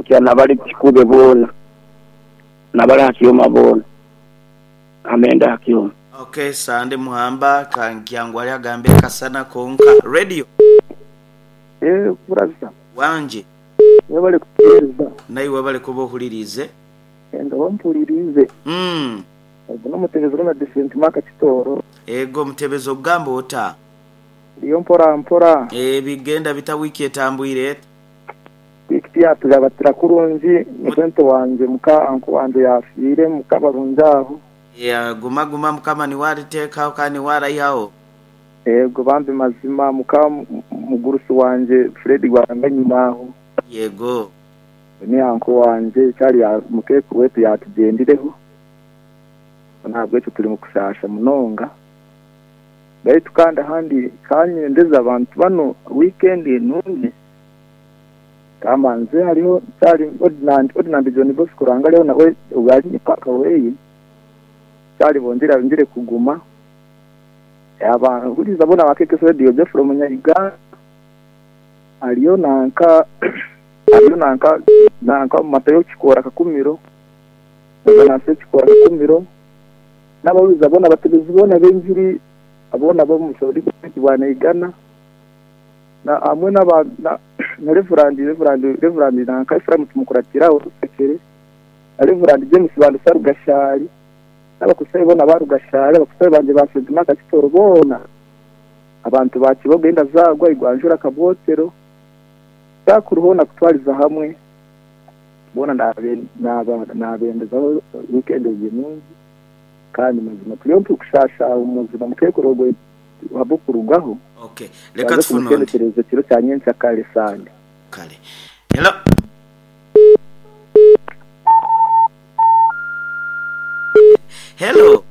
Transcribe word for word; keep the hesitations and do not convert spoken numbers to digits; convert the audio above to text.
Ndamukya n'abali Kikube boona, n'abali aha Kyoma boona. Amenda aha Kyoma. Okay, Sande Muhamba Kankyangwali agambire kasana konka. Radio. Eh, brother. Wangi. Webale kutuweereza. Naiwe webale kuba ohuliriize. Ndaba mpuliriize. Mm. Ogu n'omutebezi Ronald Sentima Kitooro. Ego mutebezi ogamba ota? Ndiyo mpora mpora. Eh, bigenda bita wiiki etambwire eta? Wiiki tiyatugabatira kurungi, mukwento wangye muka anko wangye yafiire muka barungi aho. Yeah, guma guma mukama niwe ariteekaho kandi niwe araihaho. Ego bambi mazima muka mugurusi wangye Fred Rwanga nyuma aho. Yego. Ni anko wangye kyari mukeeku wetu yatugyendireho. Ntabwo ekyo turi mu kushasha munonga. Baitu kandi ahandi kanyendeza abantu bano weekend nungi. Kamanze hariho kyari ordinand ordinand John Bosco Ranga leo nawe ubali paka weye. Kyari bongera ngire kuguma. Abahuriza bona bakeke radio Jeffrey Munyaiga. Aliyo nanka aliyo nanka nanka Matayo Kikora Kakumiro. Nanse Kikora Kakumiro. N'abahuriza bona abatebezi bona b'enjiri abona bo mushori bwana igana na amwe n'aba na, na Reverend Reverend Reverend nanka Ephraim tumukuratira usekere na Reverend James Bandusa Rugashari n'abakusayi bona barugashari abakusayi banje ba Fredima Kakitoro bona abantu bakiboga inda zagwa igwanjura kabotero cyakuruho kutwariza hamwe bona ndabe naba nabendezaho weekend nungi kandi mazima turiyo tukushasha umuzima mukekorogo wabukurugaho. Okay, leka tufune ondi kiro cya nyensa kale sande kale. Hello. Hello.